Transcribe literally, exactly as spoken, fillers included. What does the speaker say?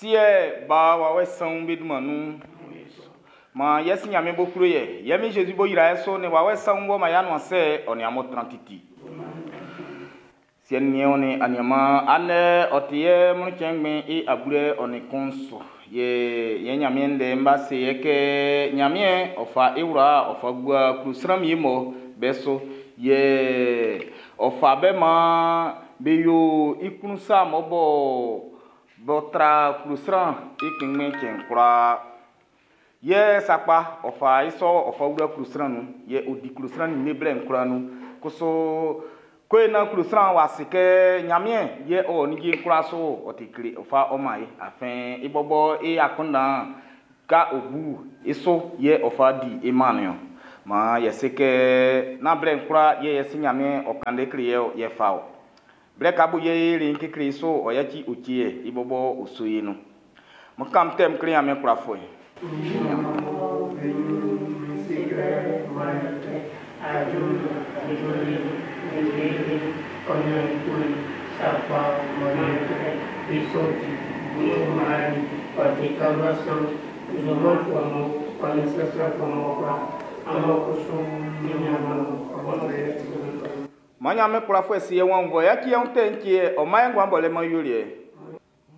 Siɛ, Ba, Wawɛ Sanwun be dunman nun. Maan yɛ si Ɲanmiɛn b'ɔ klo ye, yɛ min Jésus b'ɔ yra e so nin Wawɛ Sanwun b'ɔ man y'a nuan sɛ, ɔ nin amun tran titi. Siɛ nin niɛn nin aniaman, andɛ ɔ ti yɛ mɔnnɛn cɛn i abulɛ ɔ nin kun su. Yɛ yɛ Ɲanmiɛn ndɛ'n b'a se yɛ kɛ Ɲanmiɛn ɔ fa i wla ɔ fa gua klɔ sran wie mɔ be so. Yɛ ɔ fa be maan be yo i klun sa mɔ bɔ bɔ tra klɔ sran i kpɛnngbɛn cɛn kwlaa. Yɛ sakpa ɔ fa i sɔ ɔ fa wla klɔ sran nun. Yɛ ɔ di klɔ sran ninnge blɛ'n kwlaa nun. Kusu ko na klɔ sran w'a se kɛ Ɲanmiɛn yɛ ɔ ninnge'n kwlaa so ɔ ti kle ɔ fa ɔ man e. Afin i bɔbɔ i akunndan ka ɔ bu i so yɛ ɔ fa di i man niɔn. Maan yɛ se kɛ nán blɛ'n kwlaa yɛ yɛ si Ɲanmiɛn ɔ kan ndɛ kle yɛ yɛ fa ɔ. Blɛ ka bo yɛ e le kekle so ɔ yaci o tie i bɔbɔ o so ye nun. Mo kam tɛm kle Ɲanmiɛn kwlafuɛ. Ma Ɲanmiɛn kwlafuɛ si ye wɔn vɔ yaci yɛ tɛ ntie ɔ ma yɛ nguan bɔlɛ man yoliɛ.